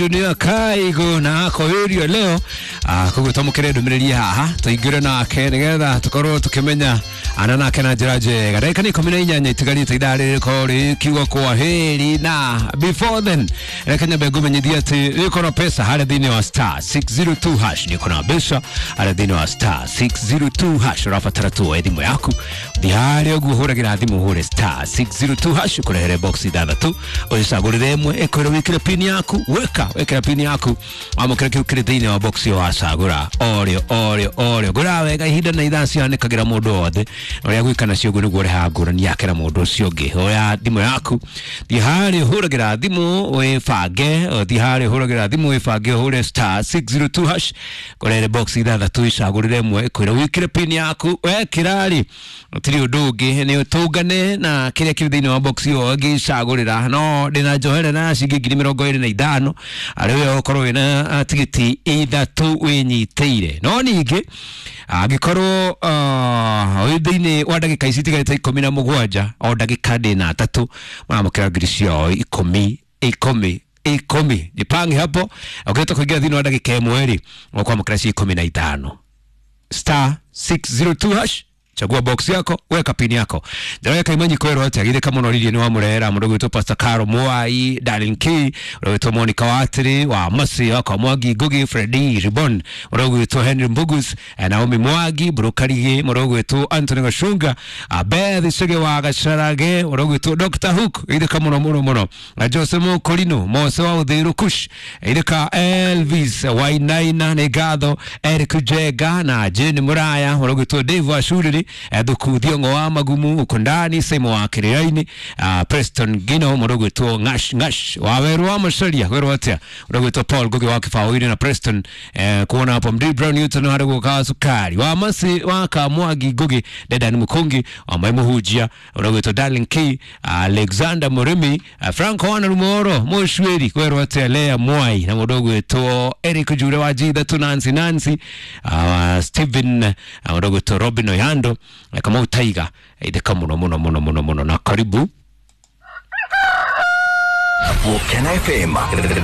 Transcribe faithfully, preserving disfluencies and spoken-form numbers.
Dunia kaigo na akowirio leo koguo twamũkĩre ndũmĩrĩri haha tũingĩre nake nĩgetha tũkorwo tũkĩmenya ana nake na njĩra njega. Ndagĩka nĩ ikũmi na inyanya itigarĩte ithaa rĩrĩ rĩkorwo rĩkiuga kwa heri, na before then reke nyambe ngũmenyithie atĩ nĩũkorwo pesa harĩa thĩinĩ wa star six zero two hash, nĩũkona mbeca harĩa thĩinĩ wa star six zero two hash. Ũrabatara tu woe thimũ yaku thiĩ harĩa ũguo ũhũragĩra thimũ ũhũre star six zero two hash ũkũrehere box ithathatũ ũcagũrĩre ĩmwe ĩkwĩre wĩkĩre pin yaku, weka wekera pin yaku wamũkĩra kĩu kĩrĩ thĩinĩ wa box ĩyo wacagũra orĩo orĩo orĩo. Ngũraga wega ihinda na ithaa cihanĩkagĩra mũndũ wothe ũrĩa gwĩka nacio ũguo nĩguo ũrehaga ngũrani yake na mũndũ ũcio ũngĩ. Oya thimũ yaku thiĩ harĩa ũhũragĩra thimũ wĩbange, thiĩ harĩa ũhũragĩra thimũ wĩbange ũhũre star six zero two hash kũrehere box ithathatũ icagũrĩre ĩmwe ĩkwĩre wĩkĩre pin yaku. Wekĩra rĩ gũtirĩ ũndũ ũngĩ nĩ ũtũngane na kĩrĩa kĩrĩ thĩinĩ wa box ĩyo ũngĩcagũrĩra. No ndĩna njohere na ciringi ngiri mĩrongo ĩrĩ na ithano arĩ we ũkorwo wĩna tigiti ithatũ wĩnyitĩire. No ningĩ angĩkorwo wĩ thĩinĩ wa ndagĩka ici itigarĩte ikũmi na mũgwanja o ndagĩka ndĩna atatũ maramũkĩra ngiri ciao ikũmi ikũmi ikũmi. Jipange hapo ũkĩhota kũingĩra thĩinĩ wa ndagĩka ĩmwe rĩ ũkwamũkĩra ci ikũmi na ithano. Star six zero two hash, chagua box yako weka pin yako. Njoroge Kaimanyi kwĩrwo atĩa githĩ kamũnoririe nĩ wamũrehera mũndũ ũgwĩtwo Pastor Caro Mwai, Darlene K, ũrĩa ũgwĩtwo Monica Watiri wa Masi wa Mwangi Ngugi, Freddy Ribon, ũrĩa ũgwĩtwo Henry Mbugus, Naomi Mwangi Burukarigi, mũndũ ũgwĩtwo Anthony Gacunga, Beth Chege wa Gacarage, ũrĩa ũgwĩtwo Doctor Hook githĩ kamũno mũno mũno, na Jose Mokorino Mose wa Uthiru Kush githĩ ka Elvis Wainaina nĩ ngatho, Eric Jenga na Jane Muraya, ũrĩa ũgwĩtwo Dave Wacuriri Thuku Thiongo wa Magumu Ukundani Simo wa Kiriaini, uh, Preston Gino mũndũ ũgwĩtwo Ngash Ngash wa Weru wa Macaria werũ atĩa mũndũ ũgwĩtwo Paul Ngugi wa Kĩbaũ-inĩ na Preston eh, kuona hapo Md Brown Newton harĩ gũka cukari wa Masi wa Kamwangi Ngugi Dedan Mukungi wa Mai Muhunjia mũndũ ũgwĩtwo Darling K, Alexander Murimi, uh, Franco Wana Rumoro Mũcuĩri werũ atĩa Lea Mwai na mũndũ ũgwĩtwo Eric Jure wa G ithatũ Nancy Nancy, uh, Stephen mũndũ ũgwĩtwo Robin Oyando Kamau Taiga itheka muno muno muno muno muno na karibu Volcano F M.